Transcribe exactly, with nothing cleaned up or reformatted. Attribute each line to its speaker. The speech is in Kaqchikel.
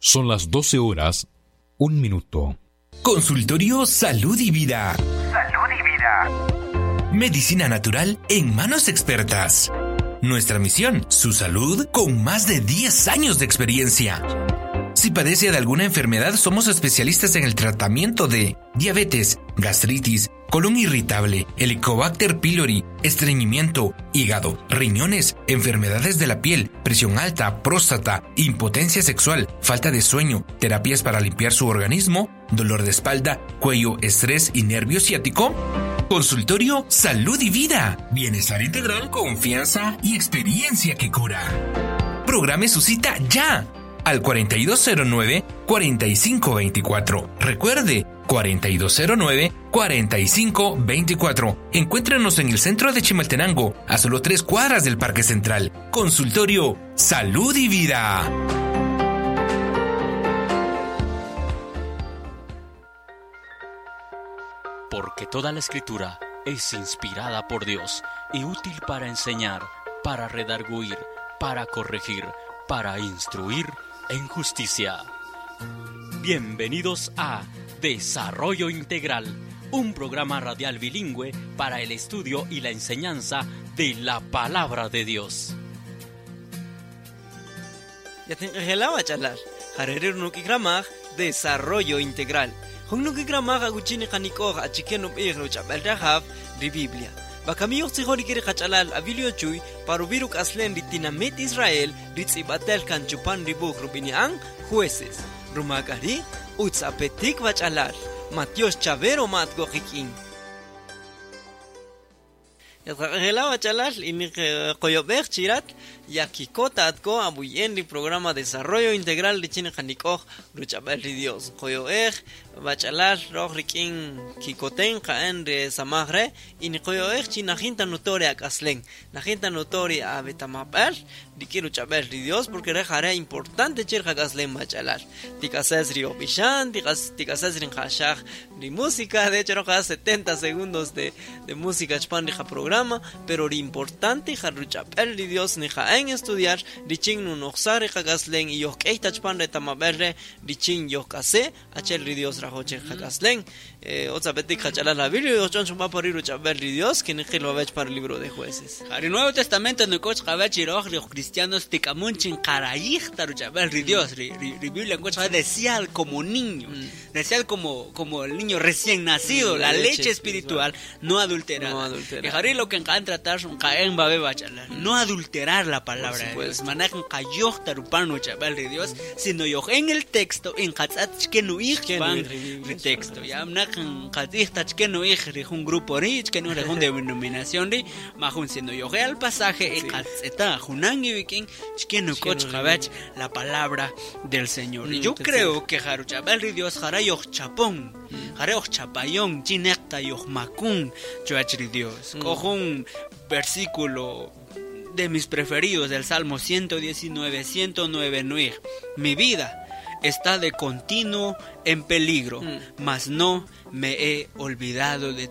Speaker 1: Son las doce horas, un minuto.
Speaker 2: Consultorio Salud y Vida.
Speaker 3: Salud y Vida.
Speaker 2: Medicina natural en manos expertas. Nuestra misión, su salud con más de diez años de experiencia. Si padece de alguna enfermedad, somos especialistas en el tratamiento de diabetes, gastritis, colon irritable, Helicobacter pylori, estreñimiento, hígado, riñones, enfermedades de la piel, presión alta, próstata, impotencia sexual, falta de sueño, terapias para limpiar su organismo, dolor de espalda, cuello, estrés y nervio ciático. Consultorio Salud y Vida. Bienestar integral, confianza y experiencia que cura. Programe su cita ya al cuarenta y dos cero nueve, cuarenta y cinco veinticuatro. Recuerde, cuarenta y dos cero nueve, cuarenta y cinco veinticuatro. Encuéntrenos en el centro de Chimaltenango, a solo tres cuadras del Parque Central. Consultorio Salud y Vida.
Speaker 4: Porque toda la escritura es inspirada por Dios y útil para enseñar, para redarguir, para corregir, para instruir en justicia. Bienvenidos a Desarrollo Integral, un programa radial bilingüe para el estudio y la enseñanza de la Palabra de Dios.
Speaker 5: Ya te engelaba charlar. Jarerer no kikramaj, Desarrollo Integral. Jun no kikramaj aguchini kanikoj achiken upij no chabel rajav ri Biblia. Bakamiyoj tzijori kiri kachalal abilio chuy parubiruk aslen ritinamit Israel ritzibatel kanchupan ribuj rubinian jueces. Rumakari utzapetik bachalal Matios Chavero matgojikin. Yatqaqela bachalal iniq qoyobej chirat yakikota atko abuyen ri programa Desarrollo Integral richin qanikoj ruchabel ri Dios qoyoej bachalal roj rikin kikoten qaen re samajre ini qoyoej chi najinta nutore akaslen najinta nutore abetamapal riki ruchabel ri Dios porque re jare importante chir qakaslen bachalal tikases ri opishan tikas tikases rin qashaj ri música de hecho roja setenta segundos de de música chpan ri programa pero lo importante jaruchapel ri Dios ni jaen estudiar richin nunoxar qakaslen y yoq'ey tachpan retamaberre richin yoq'ase achel ri Dios rajoche qakaslen eh otzapetik qachalal la Biblia yochon chumpa por ruchapel ri Dios que ni qilo bech para el libro de jueces.
Speaker 6: El Nuevo Testamento no coch qabach iroj los cristianos tikamunchin qarayij taruchapel ri Dios ri ri Biblia coch decía como niño decía como como el niño recién nacido la, la leche, leche espiritual, espiritual no adulterada. No adulterada. Lo que encan tratar un caen babe bachalar no adulterar la palabra de Dios manejan kayoh tarupano chaval de Dios sino yo en el texto en katzat que no ij pan el texto ya mnakan katij tach que no ij un grupo rich que no un denominación ri majun sino yo al pasaje en katzeta junan y viking que no coch jabach la palabra del Señor. Y yo creo que jaruchabal de Dios jarayoh chapón jarayoh chapayón chinekta yoh makun chuach de Dios. Cojo un versículo de mis preferidos del Salmo ciento diecinueve, ciento nueve, nueve. Mi vida está de continuo en peligro, mm. mas no me he olvidado de